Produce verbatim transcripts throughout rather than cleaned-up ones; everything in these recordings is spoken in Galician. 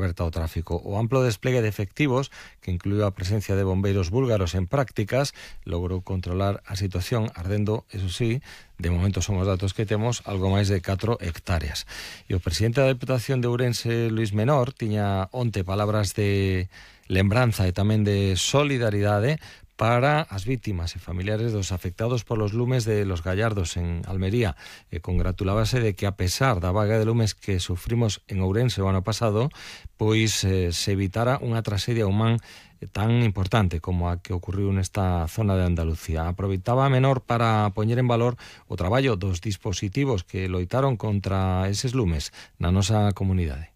aberta ao tráfico. O amplo despliegue de efectivos, que incluiu a presencia de bombeiros búlgaros en prácticas, logrou controlar a situación, ardendo, eso sí, de momento son os datos que temos, algo máis de catro hectáreas. E o presidente da Deputación de Ourense, Luís Menor, tiña onte palabras de lembranza e tamén de solidaridade para as vítimas e familiares dos afectados polos lumes de Los Gallardos en Almería. E congratulábase de que, a pesar da vaga de lumes que sufrimos en Ourense o ano pasado, pois eh, se evitara unha traxedia humana tan importante como a que ocurriu nesta zona de Andalucía. Aproveitaba a Menor para poñer en valor o traballo dos dispositivos que loitaron contra eses lumes na nosa comunidade.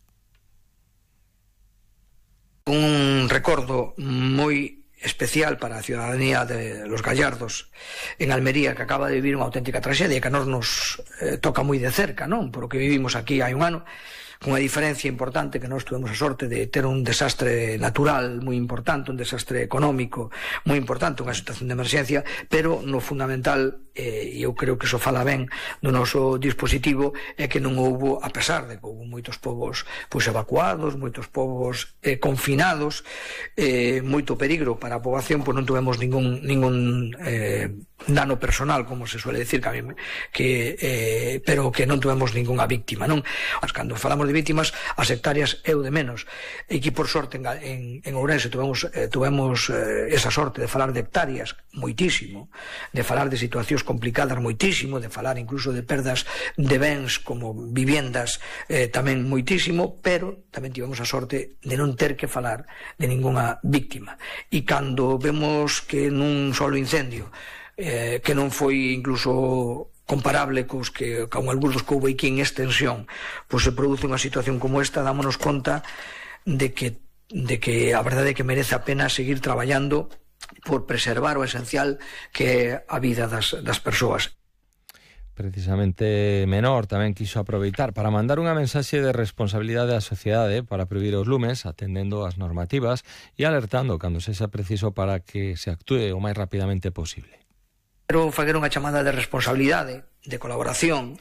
Un recordo moi especial para a ciudadanía de Los Gallardos en Almería, que acaba de vivir unha auténtica traxedia que a nós nos eh, toca moi de cerca, non? Por o que vivimos aquí hai un ano, con unha diferencia importante, que nós tuvemos a sorte de ter un desastre natural moi importante, un desastre económico moi importante, unha situación de emerxencia, pero no fundamental, e eh, eu creo que iso fala ben do noso dispositivo, é que non houbo, a pesar de que houbo moitos povos pois evacuados, moitos povos eh, confinados, eh, moito peligro para a poboación, pois non tuvemos ningún ningún eh, dano personal, como se suele decir, que a mí, que, eh, pero que non tuvemos ningunha víctima, non? Mas cando falamos de víctimas, as hectáreas é o de menos. E que por sorte en, en, en Ourense tuvemos, eh, tuvemos eh, esa sorte de falar de hectáreas moitísimo, de falar de situacións complicadas moitísimo, de falar incluso de perdas de bens como viviendas eh, tamén moitísimo, pero tamén tivemos a sorte de non ter que falar de ningunha víctima. E cando vemos que nun solo incendio, eh, que non foi incluso comparable cos que con algúns dos que houve aquí en extensión, pois se produce unha situación como esta, dámonos conta de que, de que a verdade é que merece a pena seguir traballando por preservar o esencial que é a vida das, das persoas. Precisamente Menor tamén quiso aproveitar para mandar unha mensaxe de responsabilidade á sociedade para prohibir os lumes, atendendo as normativas e alertando cando sexa preciso para que se actúe o máis rapidamente posible. Quero facer unha chamada de responsabilidade, de colaboración.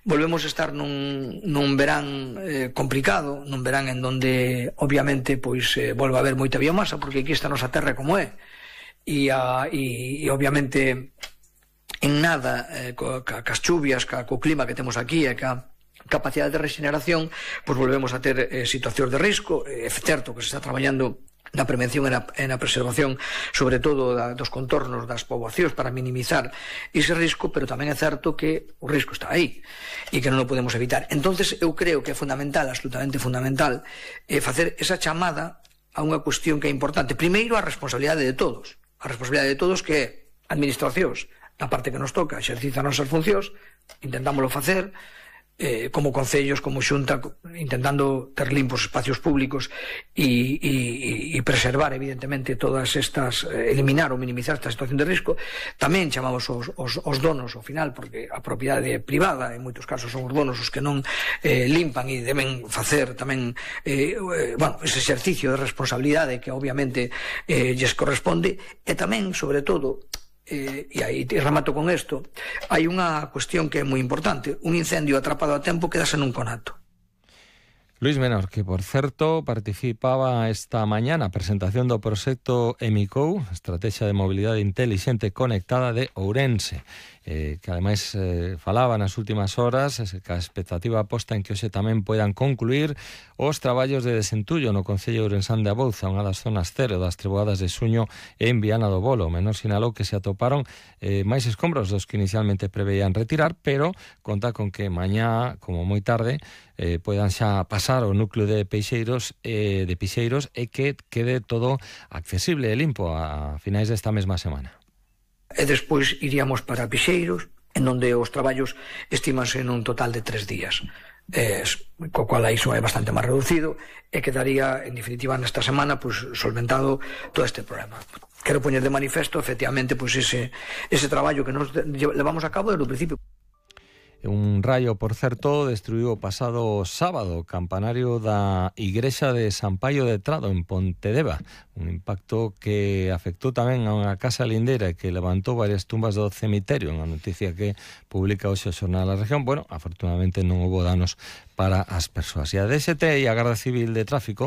Volvemos a estar nun, nun verán eh, complicado, nun verán en donde obviamente pois eh, volve a haber moita biomasa, porque aquí está a nosa terra como é, e, a, e, e obviamente en nada eh, ca, ca, cas chuvias, ca, co clima que temos aquí e ca capacidade de regeneración, pois volvemos a ter eh, situacións de risco. É certo que se está traballando na prevención e na, e na preservación, sobre todo da, dos contornos das poboacións, para minimizar ese risco, pero tamén é certo que o risco está aí e que non o podemos evitar. Entonces eu creo que é fundamental, absolutamente fundamental, eh, facer esa chamada a unha cuestión que é importante. Primeiro, a responsabilidade de todos, a responsabilidade de todos, que é administracións, na parte que nos toca, exercita as nosas funcións, intentámoslo facer, Eh, como concellos, como xunta, intentando ter limpos espacios públicos e, e, e preservar evidentemente todas estas, eh, eliminar ou minimizar esta situación de risco. Tamén chamamos os, os, os donos ao final, porque a propiedade privada en moitos casos son os donos os que non eh, limpan e deben facer tamén eh, eh, bueno, ese exercicio de responsabilidade que obviamente eh, lles corresponde. E tamén, sobre todo, Eh, e aí te remato con isto, hai unha cuestión que é moi importante: un incendio atrapado a tempo quedase nun conato. Luís Menor, que por certo participaba esta mañá na presentación do proxecto EMICOU, Estrategia de Mobilidade Intelixente Conectada de Ourense, eh, que ademais eh, falaba nas últimas horas que a expectativa posta en que hoxe tamén poidan concluir os traballos de desentullo no concello ourensán de Abouza, unha das zonas cero das treboadas de Suño en Viana do Bolo. Menor sinalou que se atoparon eh, máis escombros dos que inicialmente preveían retirar, pero conta con que mañá, como moi tarde, eh, poidan xa pasar o núcleo de Peixeiros eh, de Pixeiros e que quede todo accesible e limpo a finais desta mesma semana. E despois iríamos para Pixeiros, en onde os traballos estimanse nun total de tres días, eh, co cual iso é bastante máis reducido, e quedaría, en definitiva, nesta semana pues, solventado todo este problema. Quero poñer de manifesto, efectivamente, pues, ese, ese traballo que nos levamos a cabo desde o principio. Un raio, por certo, destruiu o pasado sábado o campanario da Igrexa de San Paio de Trado en Pontedeva, un impacto que afectou tamén a unha casa lindeira e que levantou varias tumbas do cemiterio, unha noticia que publica hoxe o Xornal da Región. Bueno, afortunadamente non houbo danos para as persoas. E a D S T e a Garda Civil de Tráfico